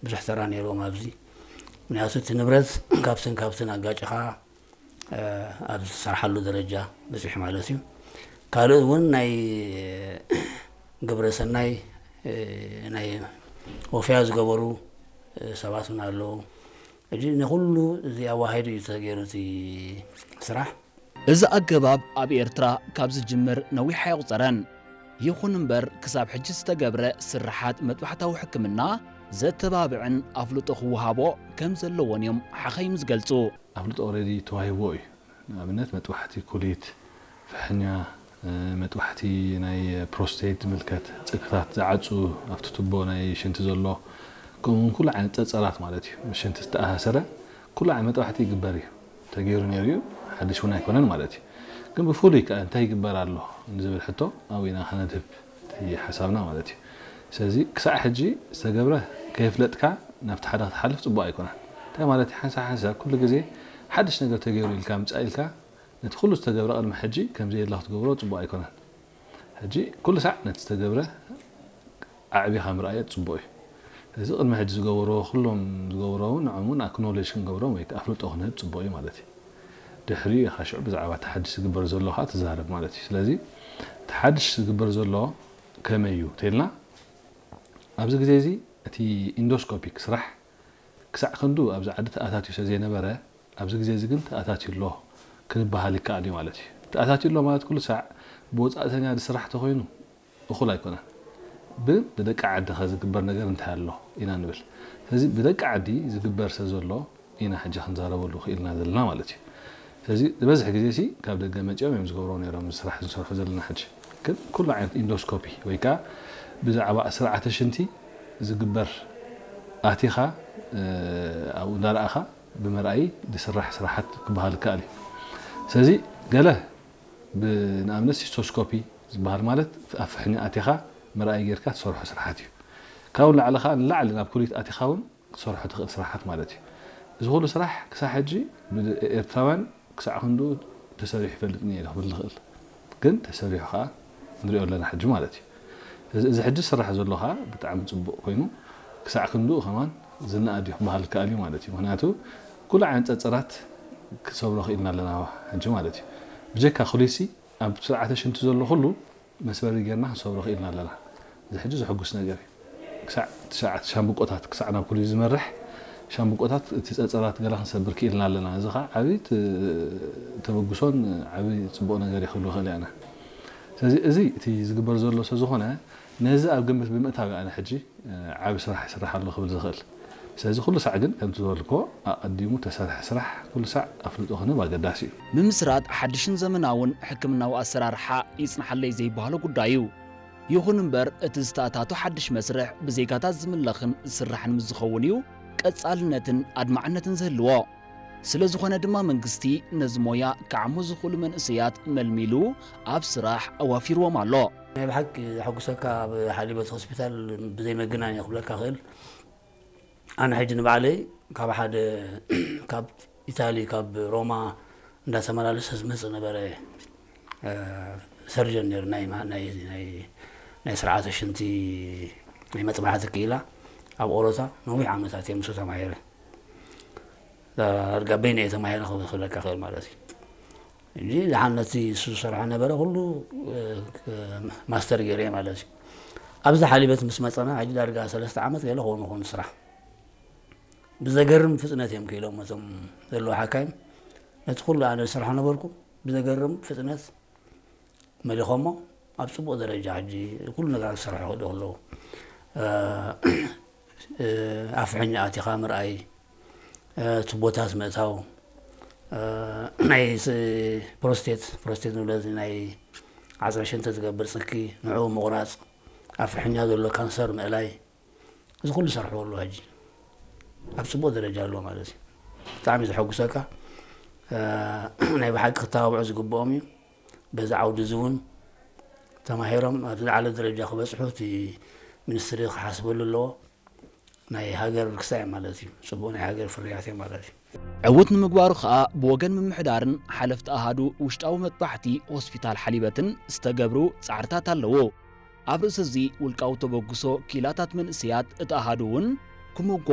ብዙሕ ተራ ነይርዎም ኣብዚ። ምክንያቱ እቲ ንብረት ካብትን ካብትን ኣጋጭኻ ኣብ ዝሰርሓሉ ደረጃ በፂሑ ማለት እዩ። ካልእ እውን ናይ ግብረ ሰናይ ናይ ወፍያ ዝገበሩ ሰባት እውን ኣለዉ። ሕጂ ንኩሉ እዚ ኣዋሃሂዱ እዩ ተገይሩ እቲ ስራሕ። እዚ ኣገባብ ኣብ ኤርትራ ካብ ዝጅምር ነዊሕ ኣየቑጸረን። ይኹን እምበር ክሳብ ሕጂ ዝተገብረ ስርሓት መጥባሕታዊ ሕክምና ዘተባብዕን ኣፍልጦ ክወሃቦ ከም ዘለዎን እዮም ሓኸይም ዝገልጹ። ኣፍልጦ ኦረዲ ተዋሂብዎ እዩ። ንኣብነት መጥባሕቲ ኩሊት፣ ፍሕኛ፣ መጥባሕቲ ናይ ፕሮስቴት ዝምልከት፣ ጽግታት ዝዓጹ፣ ኣብቲ ቱቦ ናይ ሽንቲ ዘሎ፣ ከምኡውን ኩሉ ዓይነት ጸጸራት ማለት እዩ። ምስ ሽንቲ ዝተኣሳሰረ ኩሉ ዓይነት መጥባሕቲ ይግበር እዩ። ተገይሩ ነይሩ እዩ፣ ሓድሽ እውን ኣይኮነን ማለት እዩ። ግን ብፍሉይ ከ እንታይ ይግበር ኣሎ ንዝብል ሕቶ ኣብኡ ኢና ከነድህብ እቲ ሓሳብና ማለት እዩ። ስለዚ ክሳዕ ሕጂ ዝተገብረ ከየፍለጥካ ናብቲ ሓደ ክትሓልፍ ፅቡቅ ኣይኮነን። እንታይ ማለት እዩ? ሓንሳብ ሓንሳብ ኩሉ ግዜ ሓድሽ ነገር ተገይሩ ኢልካ ምፃእ ኢልካ ነቲ ኩሉ ዝተገብረ ቅድሚ ሕጂ ከምዘየለ ክትገብሮ ፅቡቅ ኣይኮነን። ሕጂ ኩሉ ሳዕ ነቲ ዝተገብረ ኣዕቢኻ ምርኣዮ ፅቡቅ እዩ። ስለዚ ቅድሚ ሕጂ ዝገበርዎ ኩሎም ዝገበርዎ እውን ንዖም እውን ኣክኖሌጅ ክንገብሮም ወይ ከዓ ኣፍልጦ ክንህብ ፅቡቅ እዩ ማለት እዩ። ድሕሪኡ ኢኻ ሽዑ ብዛዕባ እቲ ሓድሽ ዝግበር ዘሎ ከዓ ትዛረብ ማለት እዩ። ስለዚ እቲ ሓድሽ ዝግበር ዘሎ ከመይ እዩ ተልና ኣብዚ ግዜ እዚ እቲ ኢንዶስኮፒክ ስራሕ ክሳዕ ክንዱ ኣብዚ ዓዲ ተኣታትዩ ስለ ዘይነበረ ኣብዚ ግዜ እዚ ግን ተኣታትዩ ኣሎ ክንበሃል ይከኣል እዩ ማለት እዩ። ተኣታትዩ ኣሎ ማለት ኩሉ ሳዕ ብወፃእተኛ ዝስራሕ ተኮይኑ እኹል ኣይኮነን። ብ ብደቂ ዓዲ ከ ዝግበር ነገር እንታይ ኣሎ ኢና ንብል። ስለዚ ብደቂ ዓዲ ዝግበር ስለ ዘሎ ኢና ሕጂ ክንዛረበሉ ክኢልና ዘለና ማለት እዩ። ስለዚ ዝበዝሕ ግዜ ሲ ካብ ደገ መፂኦም እዮም ዝገብርዎ ነይሮም እዚ ስራሕ ዝሰርሑ ዘለና ሕጂ። ግን ኩሉ ዓይነት ኢንዶስኮፒ ወይ ከዓ ብዛዕባ ስርዓተ ሽንቲ ዝግበር ኣቲኻ ኣብኡ እንዳረኣኻ ብመርኣይ ዝስራሕ ስራሓት ክበሃል ይከኣል እዩ። ስለዚ ገለ ንኣብነት ሲስቶስኮፒ ዝበሃል ማለት ኣብ ፍሕኛ ኣቲኻ ምርኣይ ጌርካ ትሰርሖ ስራሓት እዩ። ካብኡ ንላዕሊ ከዓ ንላዕሊ ናብ ኩሊት ኣቲኻ እውን ክትሰርሖ ትኽእል ስራሓት ማለት እዩ። እዚ ኩሉ ስራሕ ክሳብ ሕጂ ብኤርትራውያን ክሳዕ ክንድኡ ተሰሪሑ ይፈልጥን እየ ኢለ ክብል ዝኽእል። ግን ተሰሪሑ ከዓ ንሪኦ ኣለና ሕጂ ማለት እዩ። እዚ ሕጂ ዝስራሕ ዘሎ ከዓ ብጣዕሚ ፅቡቕ ኮይኑ ክሳዕ ክንድኡ ከማን ዝነኣድ እዩ ክበሃል ይከኣል እዩ ማለት እዩ። ምክንያቱ ኩሉ ዓይነት ፀፀራት ክሰብሮ ክኢልና ኣለና ሕጂ ማለት እዩ። ብጀካ ኩሊሲ ኣብ ስርዓተ ሽንቲ ዘሎ ኩሉ መስበሪ ጌርና ክንሰብሮ ክኢልና ኣለና። እዚ ሕጂ ዘሐጉስ ነገር እዩ። ክሳዕ ትሽዓተ ሻምብቆታት ክሳዕ ናብ ኩሊት ዝመርሕ ሻምብቆታት እቲ ፀፀራት ገላ ክንሰብር ክኢልና ኣለና። እዚ ከዓ ዓብዪ ተበግሶን ዓብዪ ፅቡቕ ነገር እዩ ክብል ይኽእል እየ ኣነ። ስለዚ እዚ እቲ ዝግበር ዘሎ ስለ ዝኾነ ነዚ ኣብ ግምት ብምእታው ኣነ ሕጂ ዓቢ ስራሕ ይስራሕ ኣሎ ክብል ዝኽእል። ስለዚ ኩሉ ሳዕ ግን ከምቲ ዝበልክዎ ኣቐዲሙ ተሰርሐ ስራሕ ኩሉ ሳዕ ኣፍልጦ ክንህብ ኣገዳሲ እዩ። ምምስራት ሓድሽን ዘመናውን ሕክምናዊ ኣሰራርሓ ይጽንሓለይ ዘይበሃሎ ጉዳይ እዩ። ይኹን እምበር እቲ ዝተኣታቶ ሓድሽ መስርሕ ብዜጋታት ዝምለኽን ዝስራሕን ምስ ዝኸውን እዩ ቀጻልነትን ኣድማዕነትን ዝህልዎ። ስለ ዝኾነ ድማ መንግስቲ ነዚ ሞያ ክዓሙ ዝኽእሉ መንእሰያት መልሚሉ ኣብ ስራሕ ኣዋፊርዎም ኣሎ። ናይ ብሓቂ ዘሐጉሰካ ኣብ ሓሊበት ሆስፒታል ብዘይ መገናኛ ክብለካ ክእል ኣነ ሕጂ ንባዕለይ ካብ ሓደ ካብ ኢታሊ ካብ ሮማ እንዳተመላለሰ ዝመፅእ ነበረ ሰርጀን ነይሩ ናይ ስርዓተ ሽንቲ ናይ መጥባሕቲ ክኢላ ኣብ ኦሮታ ነዊሕ ዓመታት እየ ምስኡ ተማሂረ ዳርጋ በይነ እየ ተማሂረ ክብለካ ክእል ማለት እዩ እንጂ ደሓን ነቲ እሱ ዝሰርሖ ነበረ ኩሉ ማስተር ገይረ ማለት እዩ። ኣብዚ ሓሊበት ምስ መፀና ሕጂ ዳርጋ ሰለስተ ዓመት ገለ ክኾኑ ይኾኑ ስራሕ ብዘገርም ፍጥነት እዮም ክኢሎም እቶም ዘለዉ ሓካይም ነቲ ኩሉ ኣነ ዝሰርሖ ነበርኩ ብዘገርም ፍጥነት መሊኾሞ ኣብ ፅቡቕ ደረጃ ሕጂ ኩሉ ነገራት ክሰርሑ ክእሉ ኣለዉ። ኣፍሕኛ ኣቲኻ ምርኣይ፣ ቱቦታት ምእታው፣ ናይ ፕሮስቴት ፕሮስቴት ንብሎ ናይ ዓፅሚ ሽንቲ ዝገብር ፅኪ ንዕኡ ምቑራፅ፣ ኣፍሕኛ ዘሎ ካንሰር ምእላይ፣ እዚ ኩሉ ይሰርሕዎ ኣለዉ ሕጂ ኣብ ፅቡቕ ደረጃ ኣለዎ ማለት እዩ። ብጣዕሚ ዘሐጉሰካ ናይ ብሓቂ ክተባብዑ ዝግብኦም እዩ። በዚ ዓውዲ እዚ እውን ተማሂሮም ኣብ ዝለዓለ ደረጃ ክበፅሑ እቲ ሚኒስትሪ ክሓስበሉ ኣለዎ። ናይ ሃገር ርክሳ እዮም ማለት እዩ። ፅቡቕ ናይ ሃገር ፍርያት እዮም ማለት እዩ። ዕዉት ንምግባሩ ከኣ ብወገን ምምሕዳርን ሓለፍቲ ኣሃዱ ውሽጣዊ መጥባሕቲ ሆስፒታል ሓሊበትን ዝተገብሩ ጻዕርታት ኣለዉ። ኣብ ርእሲ እዚ ውልቃዊ ተበግሶ ክኢላታት መንእሰያት እቲ ኣሃዱ እውን ክምጎስ